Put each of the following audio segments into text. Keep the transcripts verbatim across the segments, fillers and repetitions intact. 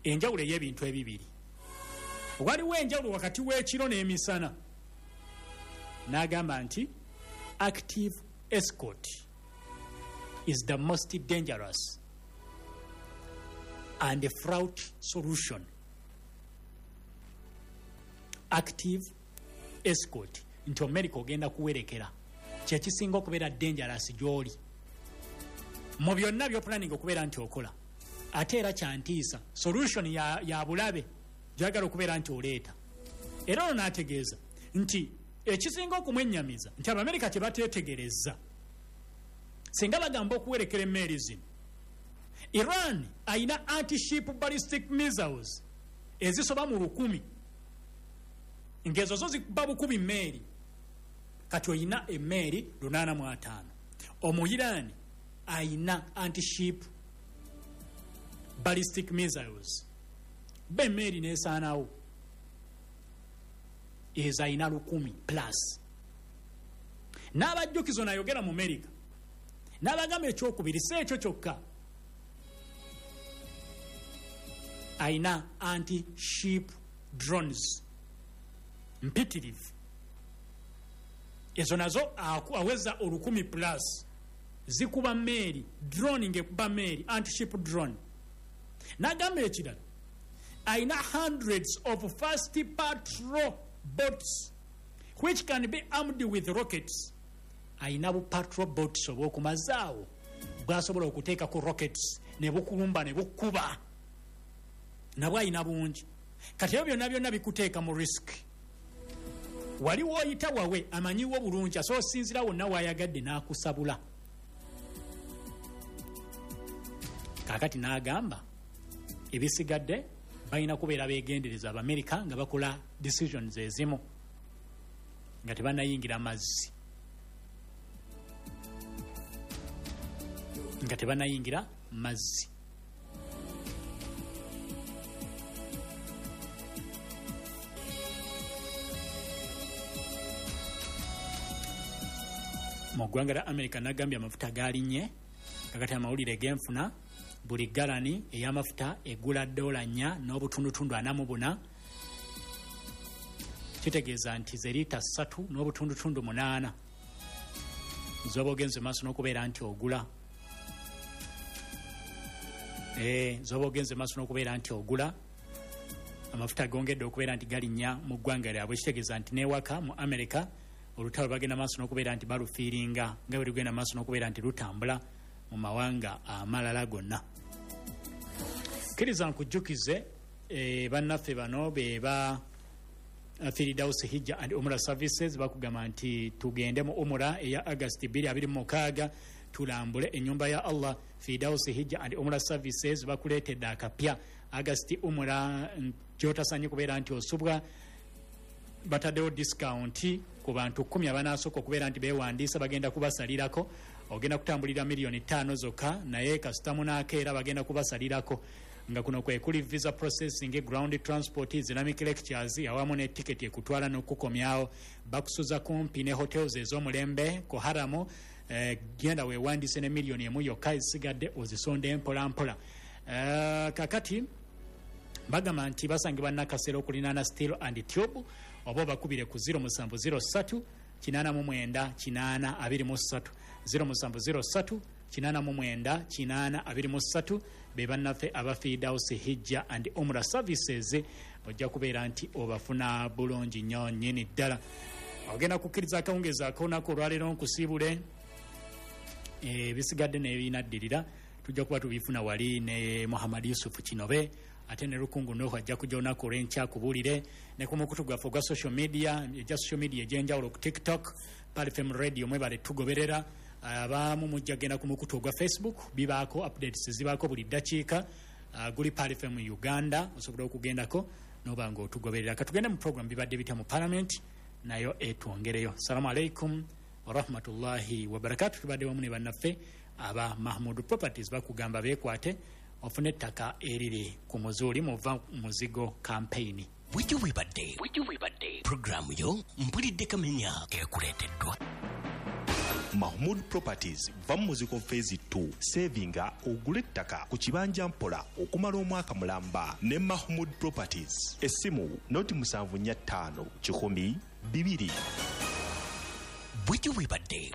Enjawulo ey'ebintu ebibiri. Waliwo enjawulo wakati w'ekiro n'emisana. N'agamba nti active escort is the most dangerous and a fraught solution. Active escort nti America ogenda kuwerekera kyekisinga okubeera dangerous gy'oli mu byonna by'oplanning okubeera nti okola, ate era kyantiisa solution ya, ya bulabe gyagala okubeera nti oleeta. Era ono n'ategeeza nti ekisinga okumwennyamiza nti Abamerika kye bateetegereza, singa bagamba okuwerekera emmeeri zino, Iran ayina anti-ship ballistic missiles ezisoba mu lukumi, ng'ezo zo zikuba bukubi mmeeri. Kati oyina emmeeri lunaana mu ataano, Omuiraani ayina anti-ship ballistic missiles, ba emmeeri n'esaanawo, ezo ayina lukumi plus. N'abajjukizo nayogera mu Amerika n'abagamba ekyokubiri, si ekyo kyokka, ayina anti-ship drones mpitirivu, ezo nazo aweza olukumi plus, zikuba meeri, drone ng'ekuba meeri, anti-ship drone. N'agamba ekirala, ayina hundreds of fast patrol boats which can be armed with rockets. Ayina bu patrol boats obw'okumazaawo bwasobola okuteekako rockets ne bukulumba ne bukuba, nabwo ayina bungi. Kati ebyo byonna byonna bikuteeka mu risk. Wali woyita wawe amanyiwo bulungi, asobola osinzira wonna wayagadde n'akusabula. Kaakati n'agamba ebisigadde balina kubeera beegendereza Abamerika nga bakola decisions ezimu nga tebanayingira mazzi, nga tebanayingira mazzi. Mu ggwanga lya Amerika nagambye amafuta galinnye. Kakati amawulire genfuna, buli galani ey'amafuta egula dola nnya n'obutundutundu ana mu buna, kitegeeza nti ze liita ssatu n'obutundutundu munaana zoba ogenze maaso n'okubeera nti ogula, e, zoba ogenze maaso n'okubeera nti ogula. Amafuta gongedde okubeera nti galinnya mu ggwanga lyabwe, kitegeeza nti n'ewaka mu Amerika olutalo bagenda maaso n'okubeera nti balufiiringa nga bwe lugenda maaso n'okubeera nti lutambula mu mawanga amalala gonna. Kkiriza nkujjukize, e, bannaffe bano be ba Firidausi Hijja and Umra Services, bakugamba nti tugende mu umura eya Agasti twenty twenty-six, tulambule ennyumba ya Allah. Firidausi Hijja and Umra Services bakuleetedde akapya Agasti umura gyotasanye kubeera nti osubwa. Bataddewo discount ku bantu kumi abanaasooka okubeera nti beewandiisa, bagenda kubasalirako. Ogenda kutambulira miliyoni ttaano zokka, naye kasita munaakeera bagenda kubasalirako, nga kuno kwe kuli visa processing, ground transport, Islamic lectures, awamu ne tiketi ekutwala n'okukomyawo. Bakusuza kumpi ne hotels ez'omulembe ku haramu. eh, genda weewandiise ne miliyoni emu yokka, ezisigadde ozisonde mpola mpola. eh, kakati bagamba nti basangibwa Nakasero okulinaana Steel and Tube, oba obakubire ku zero seven zero three eight nine eight eight two three, zero seven zero three eight nine eight eight two three. Be bannaffe aba Fidaus Hijja and Umra Services, ojja kubeera nti obafuna bulungi nnyo nnyini ddala. Ogenda kukkiriza akawungeezi ak'olunaku olwaleero nkusiibule, ebisigadde n'ebinaddirira tujja kuba tubifuna wali ne Muhammad Yusufu Kinobe, ate ne Lukungu Nuhu ajja kujja olunaku olw'enkya kubuulire ne ku mukutu gwaffe ogwa social media, egya social media egy'enjawulo, ku TikTok Pearl F M Radio. Mwebale tugoberera. Abamu mujja genda ku mukutu ogwa Facebook, bibaako updates, zibaako buli ddakiika, uh, guli Pearl F M Uganda, osobola okugendako noba nga otugoberera. Katugende mu program Bibadde Bitya mu Parliament, nayo etwongereyo. Salamu alaikum warahmatullahi wabarakatu. Tubadde wamu ne bannaffe aba Mahmud Properties, bakugamba beekwate ofune ettaka eriri ku muzuuli muva muzigo campaign. Bujjo bwebadde puroguramu yo Mpulidde Kamenya ekuleeteddwa Mahmood Properties va mu muziko phase two. Savinga ogule ettaka ku kibanja mpola okumala omwaka mulamba ne Mahmood Properties. Essimu noti musanvu nnya ttaano kikumi bibiri. Bwetyo bwebadde.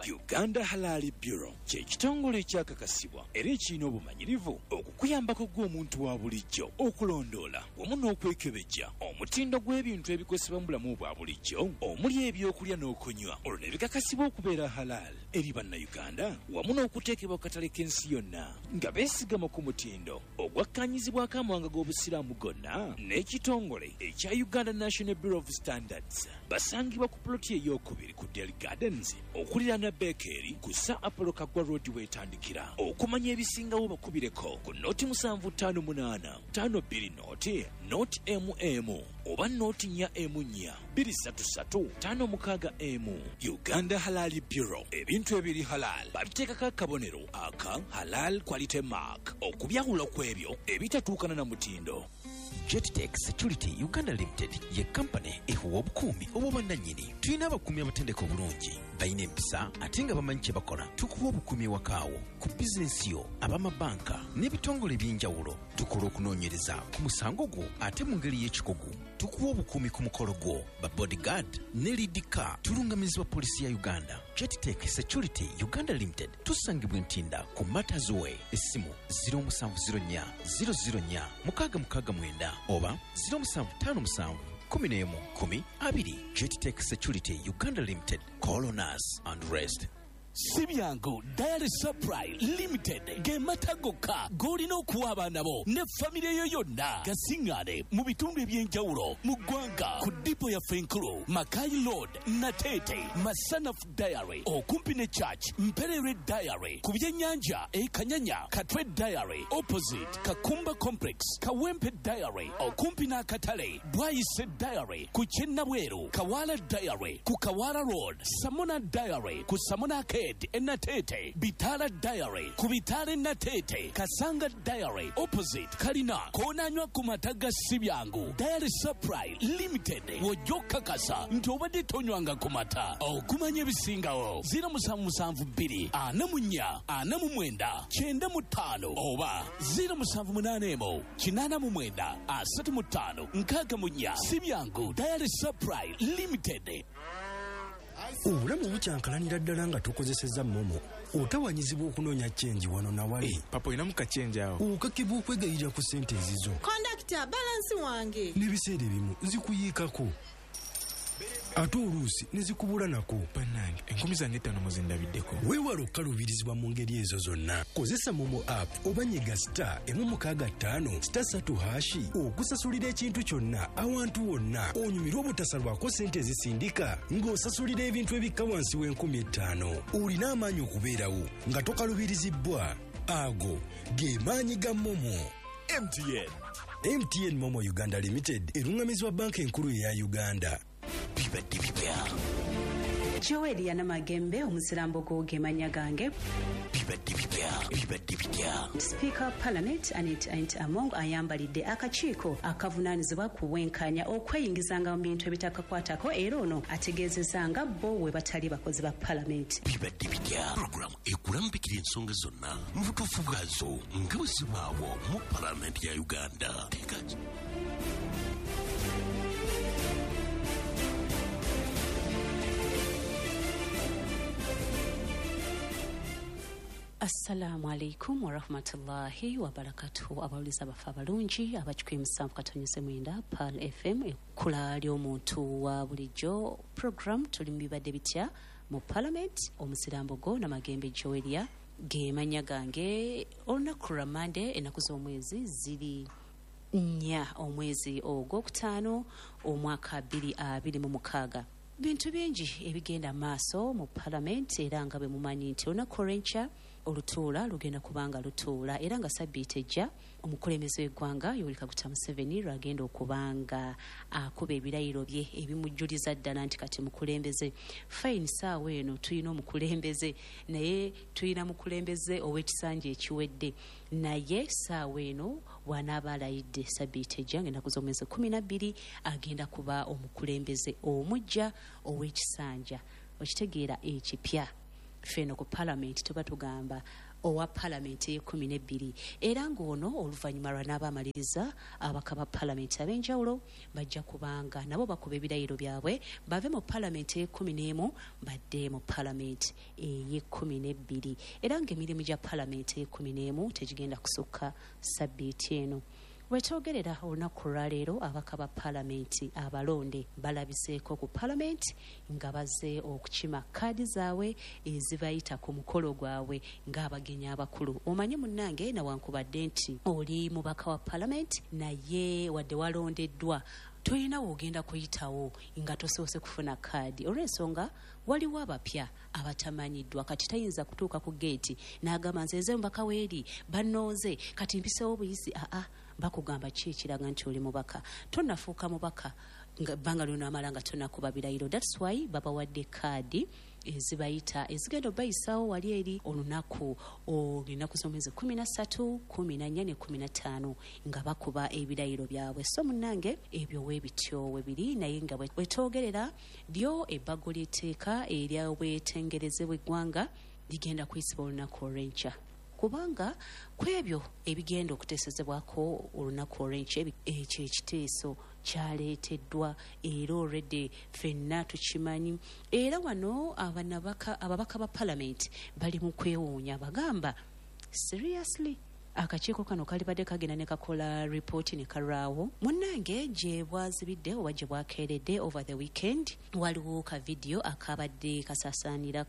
Uganda Halal Bureau kye kitongole ekyakakasibwa era ekirina obumanyirivu okukuyambako gw'omuntu wa bulijjo okulondoola wamu n'okwekebejja omutindo gw'ebintu ebikozesebwa mu bulamu bwa bulijjo omuli ebyokulya n'okunywa, olwo ne bikakasibwa okubeera halal eri Bannayuganda wamu n'okuteekebwa ku katale k'ensi yonna nga beesigama ku mutindo ogwakkaanyizibwako amawanga g'Obusiraamu gonna n'ekitongole ekya Uganda National Bureau of Standards. Basangibwa ku ploti ey'okubiri ku Del Gardens okuliraana Bekeri ku Sir Apollo Kaggwa Road weetandikira. Okumanya ebisingawo bakubireko ku noti musanvu ttaano munaana ttaano bbiri noti noti emu emu oba noti nnya emu nnya bbiri ssatu ssatu ttaano mukaaga emu. Uganda Halal Bureau, ebintu ebiri halal babiteekako akabonero aka Halal Quality Mark okubyawula ku ebyo ebitatuukana na mutindo. Jettech Security Uganda Limited ye kampani ehuwa obukuumi obw'obwannannyini. Tulina abakuumi abatendeka obulungi, balina empisa ate nga bamanyi kye bakola. Tukuwa obukuumi ewakaawo, ku bizinensi yo, ab'amabanka n'ebitongole eby'enjawulo. Tukola okunoonyereza ku musango gwo ate mu ngeri y'ekikugu. Tukuwa obukuumi ku mukolo gwo, ba bodyguard ne lead car. Tulungamizibwa poliisi ya Uganda. Jettech Security Uganda Limited tusangibwa Ntinda ku Matters Way. Essimu zero musanvu zero nnya zero zero nnya mukaaga mukaaga mwenda oba zero musanvu ttaano musanvu kumi n'emu kumi abiri. Jettech Security Uganda Limited. Call on us and rest. Si byangu Dairy Supply Limited ge mata gokka g'olina okuwa abaana bo ne famire yo yonna. Gasiŋŋaane mu bitundu eby'enjawulo mu ggwanga ku dipo yaffe enkulu Makai Road, Nateete, Masanaf Dairy okumpi ne Church, Mperere Dairy ku byennyanja e Kanyanya, Katwe Dairy opposite Kakumba Complex, Kawempe Dairy okumpi n'akatale, Bwayise Dairy ku Kyennabweru, Kawala Dairy ku Kawala Road, Samona Dairy ku Samona Arcade Enatete, Bitala Dairy ku Bitala Enatete, Kasanga Dairy opposite Kalina. Koonanywa ku mata ga si byangu Dairy Supply Limited w'ojja okukakasa nti obadde tonywanga ku mata. Okumanya ebisingawo zero musanvu musanvu bbiri ana mu nnya ana mu mwenda kyenda mu ttaano oba zero musanvu munaana emu kinaana mu mwenda asatu mu ttaano nkaaga mu nnya. Si byangu Dairy Supply Limited. Obulamu bukyankalanira ddala nga tukozesezza momo. Otawanyizibwa okunoonya chenji wano na wali. Hey, papa olinamu kachenji awo. Okakibwa okwegayirira ku ssente ezizo. Kondakita, balansi wange. N'ebiseera ebimu zikuyiikako. Ate oluusi ne zikubula nako. Bannange, enkumi zange ttaano muzindabiddeko. Weewale okukaluubirizibwa mu ngeri ezo zonna. Kozesa momo app oba nyiga star emu mukaaga ttaano star ssatu hashi okusasulira ekintu kyonna awantu wonna. Onyumirwe obutasalwako ssente ezisindika ng'osasulira ebintu ebikka wansi w'enkumi ettaano. Olina amaanyi okubeerawo nga tokaluubirizibbwa. Ago ge maanyi ga momo. M T N. M T N Momo Uganda Limited erungamizibwa banka enkulu eya Uganda. Bibadde bibya. Joel Yanamagembe omusirambo gw'ogemanya gange. Bibadde bibya. Bibadde bibya. Speaker of Parliament Annet Anita Among ayambalidde akakiiko akavunaanyizibwa ku bwenkanya okweyingizanga mu bintu ebitakakwatako era ono ategeezezza nga bo we batali bakozi ba Parliament. Bibadde bitya. Program ekulambikira ensonga zonna mu butuufu bwazo nga bwe zibaawo mu Parliament ya Uganda. Teeka Assalamu alaikum warahmatullahi wabarakatuhu. Abawuliza bafe abalungi abakikumi musanvu katonyeze mwenda Pearl F M ekkula ly'omuntu wa bulijjo. Program tuli mu bibadde bitya mu Parliament. Omusirambo go Namagembe Joelia ge mannya gange. Olunaku lwa Mande ennaku z'omwezi ziri nnya omwezi ogwokutaano omwaka bbiri abiri mu mukaaga. Bintu bingi ebigenda maaso mu Parliament era nga bwe mumanyi nti olunaku olw'enkya olutuula lugenda kubanga lutuula era nga sabbiiti ejja omukulembeze w'eggwanga Yoweri Kaguta Museveni lwagenda okubanga akuba ebirayiro bye ebimujjuliza ddala nti kati mukulembeze. Fine, saawa eno tulina omukulembeze naye tulina mukulembeze ow'ekisanja ekiwedde, naye saawa eno bw'anaaba alayidde sabbiiti ejja ng'ennaku z'omwezi kumi na bbiri agenda kuba omukulembeze omuggya ow'ekisanja okitegeera ekipya. Ffeno ku palamenti tuba tugamba owa palamenti ey'ekkumi n'ebbiri, era ng'ono oluvannyuma lw'anaaba amaliriza, ababaka ba palamenti ab'enjawulo bajja kubanga nabo bakuba ebirayiro byabwe bave mu palamenti ey'ekkumi n'emu badde mu palamenti ey'ekkumi n'ebbiri. Era ng'emirimu gya palamenti ey'ekkumi n'emu tegigenda kusukka sabbiiti eno. Wetwogerera olunaku olwaleero, ababaka ba palamenti abalonde balabiseeko ku palamenti nga bazze okukima kaadi zaabwe ezibayita ku mukolo gwabwe ng'abagenyi abakulu. Omanyi munnange, nawankubadde nti oli mubaka wa palamenti, naye wadde walondeddwa tolina w'ogenda kuyitawo nga tosoose kufuna kaadi, olw'ensonga waliwo abapya abatamanyiddwa. Kati tayinza kutuuka ku geeti n'agamba nze nze mubaka weeri bannonze kati mpisewo buyisi. Aa, bakugamba ki ekiraga nti oli mubaka? Tonafuuka mubaka bbanga lyonaamala nga tonakuba birayiro. That's why babawadde kaadi ezibayita ezigenda obayisaawo wali eri olunaku olunaku z'omwezi kumi na ssatu, kumi na nnya ne kumi na ttaano nga bakuba ebirayiro byabwe. So munnange, ebyo weebityo we biri, naye nga wetwogerera lyo ebbago ly'etteeka ery'obwetengereze bw'eggwanga ligenda kuyisibwa olunaku olw'enkya, kubanga ku ebyo ebigenda okuteesezebwako olunaku olw'enkya, ekyo ekiteeso kyaleeteddwa era already ffenna tukimanyi. Era wano abanabaka ababaka ba palamenti bali mu kwewuunya, bagamba seriously akakiiko kano kalibadde kagenda ne kakola ripooti ne kalwawo. Munnange, gye bwazibidde oba gye bwakeeredde over the weekend, waliwo ka vidiyo akabadde kasaasaanira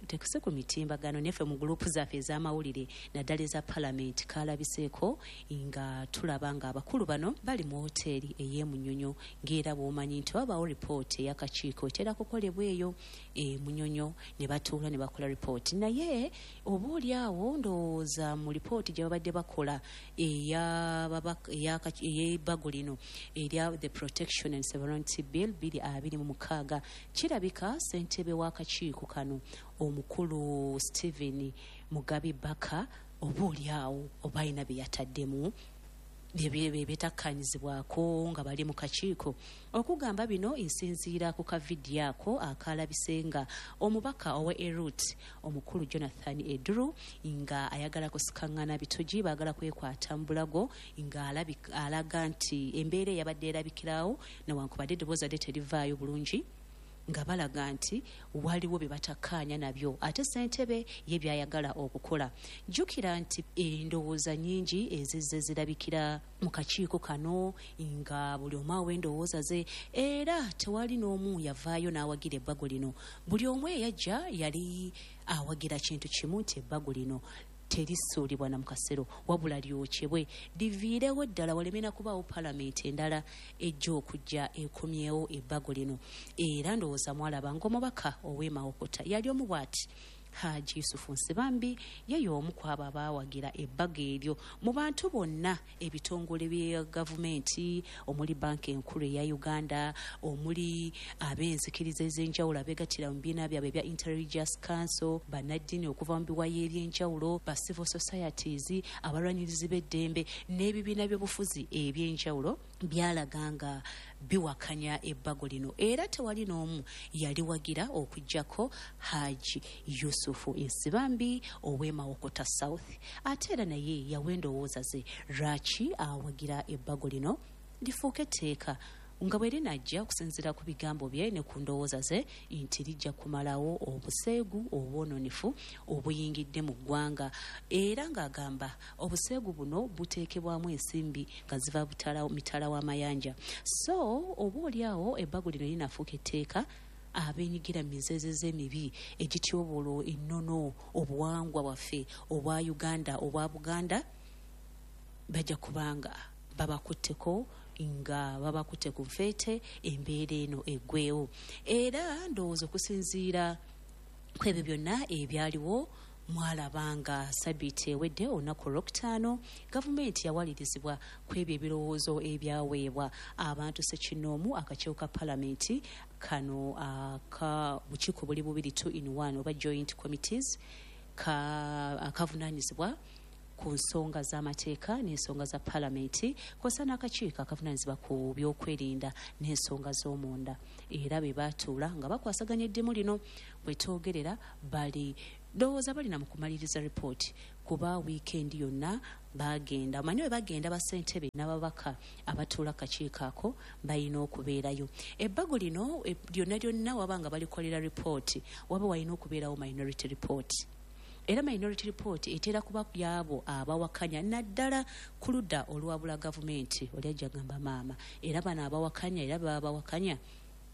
tekuse ku mitimbagano neffe mu gurupu zaffe ez'amawulire naddala eza palamenti, kalabiseeko nga tulaba nga abakulu bano bali mu woteeri ey'emunyonyo, ng'era bw'omanyi nti wabaawo ripooti ey'akakiiko etera kukolebwa eyo emunyonyo, ne batuula ne bakola ripooti. Naye oba oli awo ndowooza mu ripooti gye babadde bakola ey'ebbago lino erya the Protection and Sovereignty Bill bbiri abiri mu mukaaga, kirabika ssentebe w'akakiiko kano omukulu Stephen Mugabi Baka oba oli awo oba alina bye yataddemu byetakkaanyizibwako nga bali mu kakiiko. Okugamba bino nsinziira ku kavidiyo ako akalabise nga omubaka owa Erut omukulu Jonathan Eduru nga ayagala kusikaŋŋana bitogi, baagala kwekwata mu bulago, nga alaga nti embeera eyabadde erabikirawo newankubadde eddoboozi adde terivaayo bulungi, nga balaga nti waliwo bye batakkaanya nabyo ate ssentebe ye byayagala okukola. Jjukira nti endowooza nnyingi ezizze zirabikira mu kakiiko kano nga buli omu awa endowooza ze, era tewali n'omu yavaayo n'awagira ebbago lino. Buli omu eyajja yali awagira kintu kimu, nti ebbago lino terisuulibwa na mu kasero, wabula lyokyebwe liviirewo ddala, waleme na kubaawo palamenti endala ejja okujja ekomyewo ebbago lino. Era ndowooza mwalaba ng'omubaka ow'e Mawokota yali omu bw'ati, Haji Yusufu Nsibambi, ye y'omu ku abo abaawagira ebbago eryo. Mu bantu bonna, ebitongole bya gavumenti omuli banka enkulu eya Uganda, omuli ab'enzikiriza ez'enjawulo abeegattira mu bibiina byabwe ebya Interreligious Council, bannaddiini okuva mu biwayi eby'enjawulo, ba civil societies, abalwanirizi b'eddembe n'ebibiina by'obufuzi eby'enjawulo byalaga nga biwakanya ebbago lino, era tewali n'omu yaliwagira okuggyako Haji Yusufu Nsibambi ow'e Mawokota South. Ate era naye yawa endowooza ze lwaki awagira ebbago lino lifuuke etteeka, nga bwe linajja okusinziira ku bigambo bye ne ku ndowooza ze nti lijja kumalawo obuseegu obwononefu obuyingidde mu ggwanga. Era ng'agamba obuseegu buno buteekebwamu ensimbi nga ziva mitala w'amayanja, so oba oliawo ebbago lino linafuuka etteeka, abenyigira mu mizeezeze emibi egityoboola ennono, obuwangwa bwaffe obwa Uganda, obwa Buganda, bajja kubanga babakutteko nga babakutte ku nfeete, embeera eno eggweewo. Era ndowooza okusinziira ku ebyo byonna ebyaliwo, mwalaba nga sabiiti ewedde olunaku olwokutaano gavumenti yawalirizibwa ku ebyo ebirowoozo ebyaweebwa abantu ssekinnoomu, akakiiko ka palamenti kano aka bukiiko buli bubiri, two in one oba joint committees, akavunaanyizibwa ku nsonga z'amateeka n'ensonga za palamenti, kw'ossa n'akakiiko akavunaanyizibwa ku byokwerinda n'ensonga z'omunda. Era be baatuula nga bakwasaganya eddimu lino. Bwe twogerera bali ndowooza balina mu kumaliriza ripooti, kuba wiikendi yonna bagenda omanyi bwe bagenda bassentebe n'ababaka abatuula kakiiko ako balina okubeerayo. Ebbago lino e, lyonna lyonna waba nga balikolera ripooti, waba walina okubeerawo minority report. Era minority report etera kuba yabo abawakanya, naddala ku ludda oluwabula gavumenti. Oli ajja gamba maama, era bano abawakanya era baba bawakanya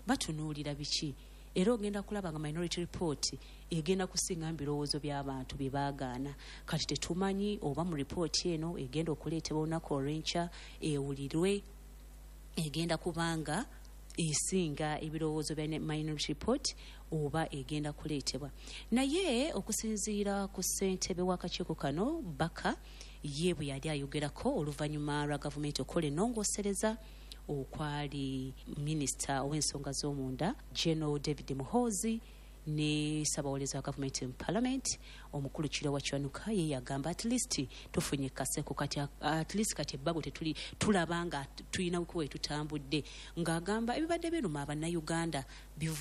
batunuulira biki? Era ogenda kulaba nga minority report egenda kusinga mu birowoozo by'abantu bye baagaana. Kati tetumanyi oba mu ripooti eno egenda okuleetebwa olunaku olw'enkya ewulirwe egenda kubanga esinga ebirowoozo bya minority report oba egenda kuleetebwa. Naye okusinziira ku ssentebe w'akakiiko kano Baka, ye bwe yali ayogerako oluvannyuma lwa gavumenti okukola ennongoosereza okwali minisita ow'ensonga z'omunda General David Muhoozi ne ssabawolereza wa gavumenti mu parliament omukulu Kiryowa Kiwanuka, ye yagamba at least tufunye kaseko kati, at least kati ebbago tetuli tulaba nga tulina we tutambudde, ng'agamba ebibadde biruma Abannayuganda.